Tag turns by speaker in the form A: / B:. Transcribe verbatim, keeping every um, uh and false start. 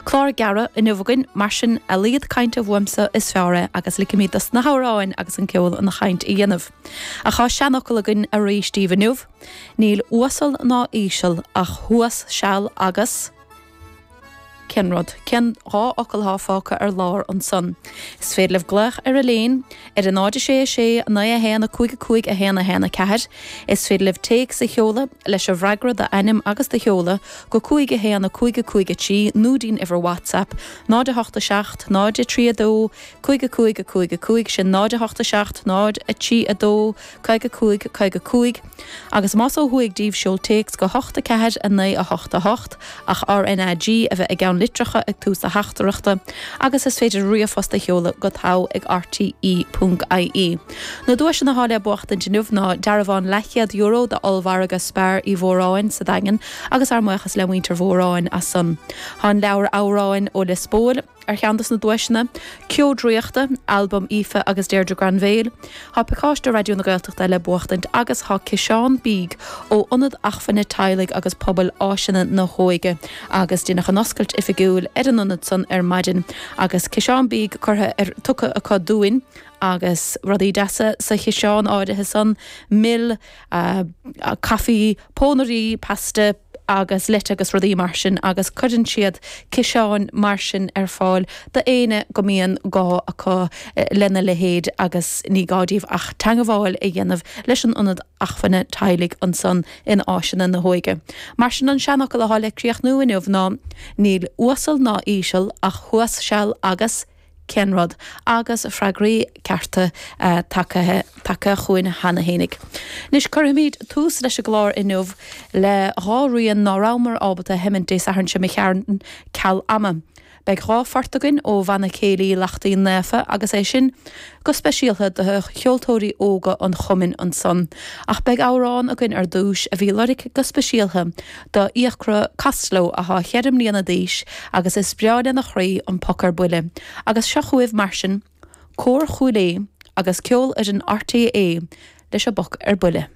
A: Clár gearr inniu againn mar sin a laghad cainte uaimse is fearr é agus ligfimid dos na hamhráin agus an ceol an chaint a dhéanamh. Ach tá seanfhocal againn arís daoibh inniu, Níl uasal ná íseal ach thuas seal agus. Cén rud? Cén dhá fhocal atá fágtha ar lár ansan? Is féidir libh glaoch ar an líne ar a náid a sé a sé naoi a haon a cúig a cúig a haon a haon a ceathair. Is féidir libh téacs a sheoladh leis an bhfreagra d'ainm agus do sheoladh go cúig a haon a cúig a cúig a trí nó dtí'n uimhir WhatsApp náid a hocht a seacht náid a trí a dó cúig a cúig a cúig a cúig sin náid a hocht a seacht náid a trí a dó caoga cúig caoga cúig agus más ó thuaidh díbh seol téacs go hocht a ceathair a naoi a hocht a hocht ach RNAG a bheith i gceann litreacha ag tús na teachtaireachta agus is féidir ríomhphost a sheoladh go togha ag RTE ponc IE. Na duaiseanna atá le buachtaint inniu ná dearbhán leathchéad euro d'ollmhargadh Spar Uí Mhóráin sa Daingean agus ár mbuíochas le muintir Mhóráin as san. Tá an leabhar amhráin ó Lios Póil ar cheann de na duaiseanna, Ceo Draíochta, albam Aoife agus Deirdre Granville, Tá pacáiste Raidió na Gaeltachta le buachtaint agus tá ciseán bídh ó Ionad Acmhainne Teaghlaigh agus Pobail Áiseanna na hÓige agus deineadh an oscailt oifigiúil ar an ionad san ar maidin agus ciseán bídh curtha ar tugtha acu dúinn agus rudaí deasa sa chiseán áirithe san, mil, caife, pónairí, pasta, agus leite agus rudaí mar sin agus cuireann siad ciseáin mar sin ar fáil d'éinne go mbíonn gá acu lena leithéid agus ní gá díobh ach teagmháil a dhéanamh leis an Ionad Acmhainne Teaghlaigh ansan in Áiseanna na hÓige. Mar sin an seanfhocal atá le críochnú inniu ná níl uasal ná íseal ach thuas seal agus. Cén rud? Agus freagraí cearta tagtha tagtha chugainn cheana fhéinig. Anois cuirfimid tús leis an gclár inniu le dhá rian ná rabhamar ábalta a sheimint Dé Sathairn seo imigh tharainn ceal ama. Beidh dhá phort againn ó Bhanna Céilí Lachtaín Naofa agus é sin go speisialta do cheoltóirí óga an chumainn ansan. Ach beidh amhrán againn ar dtús a bhí lorgtha go speisialta do Fhiachra Costello athá cheithre mbliana d'aois agus is breá lena chroí an Poc ar Buile. Agus seo chugaibh mar sin, Cór Chúil Aodh agus Ceolfhoireann RTÉ leis an bPoc ar Buile.